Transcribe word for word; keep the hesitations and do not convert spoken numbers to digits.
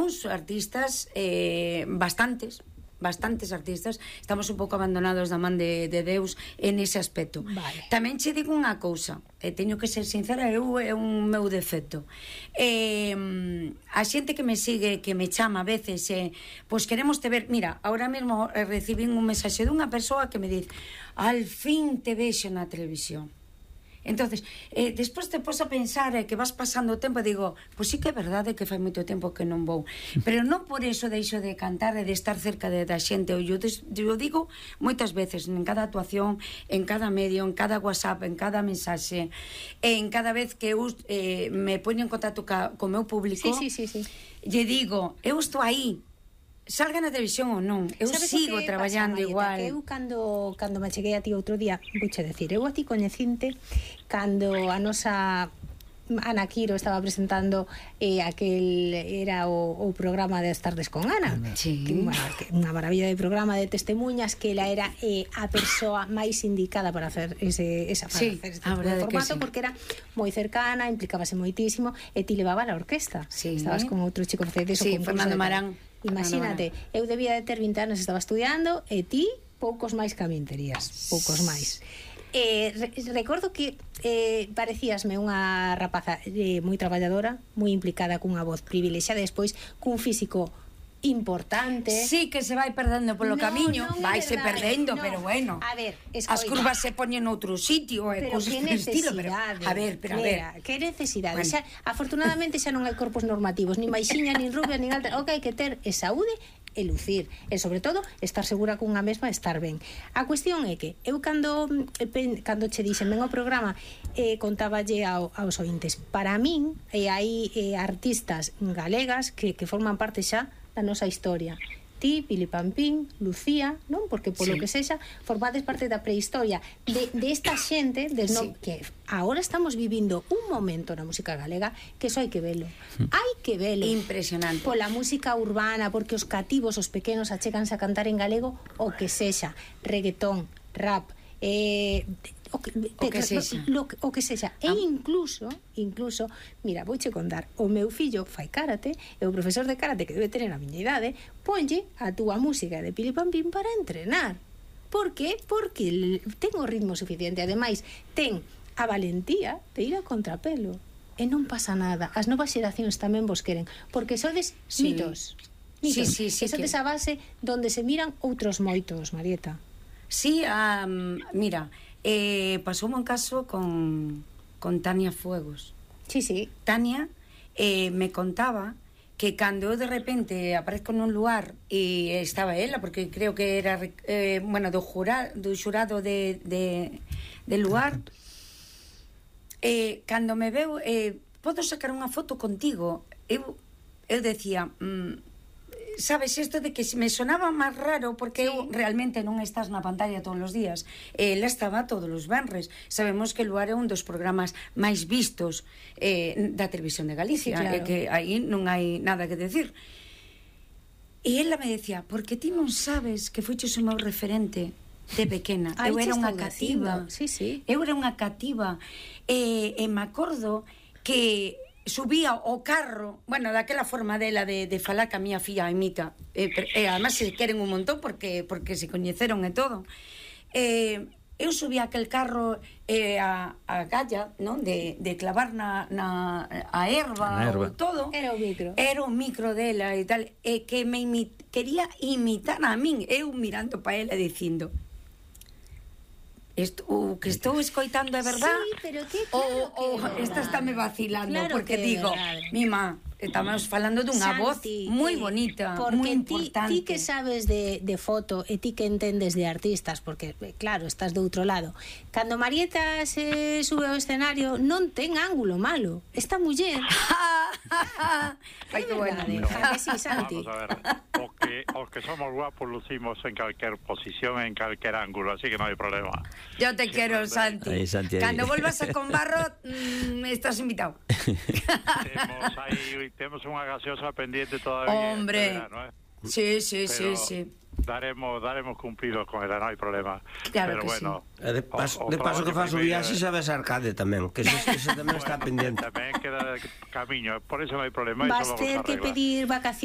algúns artistas, eh, bastantes, bastantes artistas, estamos un pouco abandonados da man de, de Deus en ese aspecto. Vale. Tamén che digo unha cousa, e teño que ser sincera, eu é un meu defecto. Eh, a xente que me sigue, que me chama a veces, eh, pois queremos te ver, mira, ahora mesmo recibín un mensaxe dunha persoa que me diz, al fin te vexo na televisión. Entonces, eh, despois te pos a pensar eh, que vas pasando o tempo e digo, pois sí que é verdade que fai moito tempo que non vou, pero non por eso deixo de cantar e de estar cerca de, da xente. Eu, eu digo moitas veces, en cada actuación, en cada medio, en cada WhatsApp, en cada mensaxe, en cada vez que eu eh, me poño en contacto ca, co meu público, sí, sí, sí, sí. lle digo, eu estou aí, salga na televisión ou non, eu sigo traballando pasa, Marieta, igual. Que eu cando, cando me cheguei a ti outro día, vouche decir, eu a ti coñecinte cando a nosa Ana Quiro estaba presentando eh, aquel, era o, o programa de As Tardes con Ana, sí. que, bueno, que unha maravilla de programa de testemunhas, que ela era eh, a persoa máis indicada para hacer ese, esa, para sí, hacer este tipo de formato, sí. Porque era moi cercana, implicábase moitísimo, e ti levaba a orquesta, sí. Estabas con outro chico de sí, Fernando Marán. Imagínate, eu debía de ter vinte anos, estaba estudiando, e ti poucos máis que a min terías, poucos máis. Eh, re, recordo que eh, parecíasme unha rapaza eh, moi traballadora, moi implicada, cunha voz privilexiada, despois cun físico importante. Sí, que se vai perdendo polo no, camiño, non vaise perdendo, no. pero bueno. A ver, escoita, as curvas se poñen noutro sitio, e pero cosas que estilo, pero a ver, pero mira, a ver, que necesidade. Bueno. Xa, afortunadamente xa non hai corpos normativos, ni maixiña, nin rubia, nin alta. O que hai que ter é saúde e lucir, e sobre todo estar segura cunha mesma, estar ben. A cuestión é que eu cando cando che dixen ven ao programa, eh, contáballe ao, aos ointes, para min e eh, hai eh, artistas galegas que, que forman parte xa da nosa historia. Ti, Pili Pampín, Lucía, non? Porque polo sí. que sexa, formades parte da prehistoria de, de esta xente des no, sí. que agora estamos vivindo un momento na música galega que só hai que velo. Hai que velo. Impresionante. Pola música urbana, porque os cativos, os pequenos, acheganse a cantar en galego o que sexa, reggaetón, rap, eh, o que, o que sexa, lo, o que sexa. E incluso, incluso, mira, vouche contar, o meu fillo fai karate, e o profesor de karate que debe tener a miña idade, ponlle a túa música de Pili Pampín para entrenar. Por que? Porque ten o ritmo suficiente, ademais, ten a valentía de ir a contrapelo. E non pasa nada. As novas xeracións tamén vos queren, porque sodes sí. mitos. Mitos. Sí, sí, sí, e sodes que... a base donde se miran outros moitos, Marieta. Sí, um, mira, eh, pasoume un caso con, con Tania Fuegos. Sí, sí. Tania eh, me contaba que cando eu de repente aparezco nun lugar e estaba ela, porque creo que era eh, bueno, do, jura, do xurado de, de, de lugar, eh, cando me veu, eh, podo sacar unha foto contigo? Eu, eu decía... Mm, sabes, isto de que me sonaba máis raro porque sí. eu realmente non estás na pantalla todos os días, ela estaba todos os venres. Sabemos que Luar é un dos programas máis vistos eh, da televisión de Galicia, sí, claro. E que aí non hai nada que decir. E ela me decía, porque ti non sabes que foiches o meu referente de pequena. Ay, eu era unha cativa, sí, sí. eu era unha cativa, e, e me acordo que subía o carro, bueno, daquela forma dela de, de falar que a miña filla imita, e, e además se queren un montón porque porque se coñeceron e todo. Eh, eu subía aquel carro eh, a, a galla, non? De, de clavar na, na a erva, erva. O todo. Era o micro. Era o micro dela e tal, e que me imit, quería imitar a min, eu mirando pa ela dicindo, Esto, o que estou escoitando é verdad? Sí, pero que claro o, o que esta está me vacilando, claro porque que digo, mima, estamos falando dunha voz moi bonita, moi importante. Ti, ti que sabes de, de foto e ti que entendes de artistas, porque claro, estás do outro lado. Cando Marieta se sube ao escenario non ten ángulo malo. Esta muller Ai, que buena. Sí, Santi. Vamos a ver, os que, os que somos guapos lucimos en calquer posición, en calquer ángulo, así que non hai problema. Yo te sí, quiero, Santi. Ahí, Santi, ahí. Cando volvas a con Barro, mmm, estás invitado. Temos aí, temos unha gaseosa pendiente todavía. Hombre. Verano, eh? Sí, sí, pero sí, sí. Daremos, daremos cumplido con ela, non hai problema. Claro. Pero que bueno, sí. De paso, o, o de paso que faz o viaxe sabes arcade tamén, que eso, eso tamén bueno, está pendiente. Tamén queda camiño, por eso non hai problema. Vas ter que pedir vacacións.